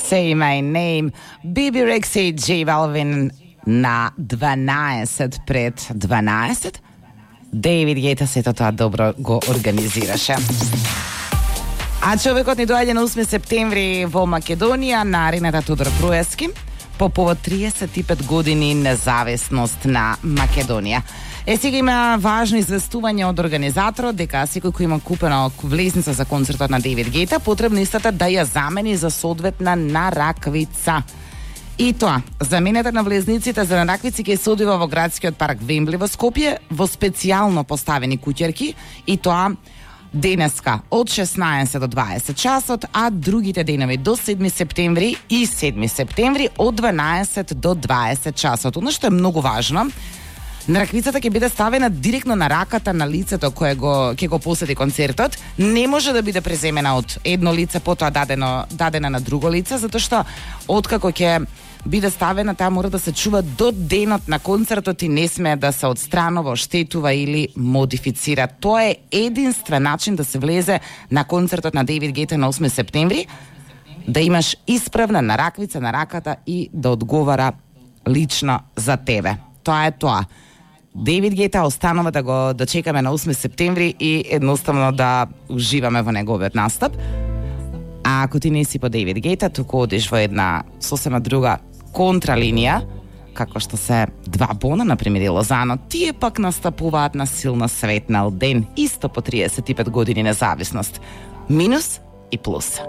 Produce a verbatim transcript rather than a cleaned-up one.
Say My Name, Биби Рекса и J Balvin на дванаесет пред дванаесет. Дейвид Гејта сето тоа добро го организираше. А човекот ни доаѓа на осми септември во Македонија на арената Тодор Троевски по повод триесет и пет години независност на Македонија. Е, сега има важно известување од организаторот дека секој кој има купена влезница за концертот на Дейвид Гејта, потребно истата да ја замени за соодветна нараквица. И тоа, замената на влезниците за нараквици ќе се одвива во градскиот парк Вембли во Скопје во специјално поставени куќерки, и тоа денеска од шеснаесет до дваесет часот, а другите денови до седми септември и седми септември од дванаесет до дваесет часот. Она што е многу важно, нараквицата ќе биде ставена директно на раката на лицето кое го ќе го посети концертот. Не може да биде преземена од едно лице, потоа дадено дадена на друго лице, затоа што откако ќе биде ставена, таа мора да се чува до денот на концертот и не смее да се отстранува, оштетува или модифицира. Тоа е единствен начин да се влезе на концертот на Дейвид Гејта на осми септември, да имаш исправна нараквица на раката и да одговара лично за тебе. Тоа е тоа. Дейвид Гејта останува да го да чекаме на осми септември и едноставно да уживаме во неговиот настап. А ако ти не си по Дейвид Гејта, туку одиш во една сосема друга контралинија, како што се два Бона, например, и Лозано, тие пак настапуваат на силно светнал ден, исто по триесет и пет години независност. Минус и плюс.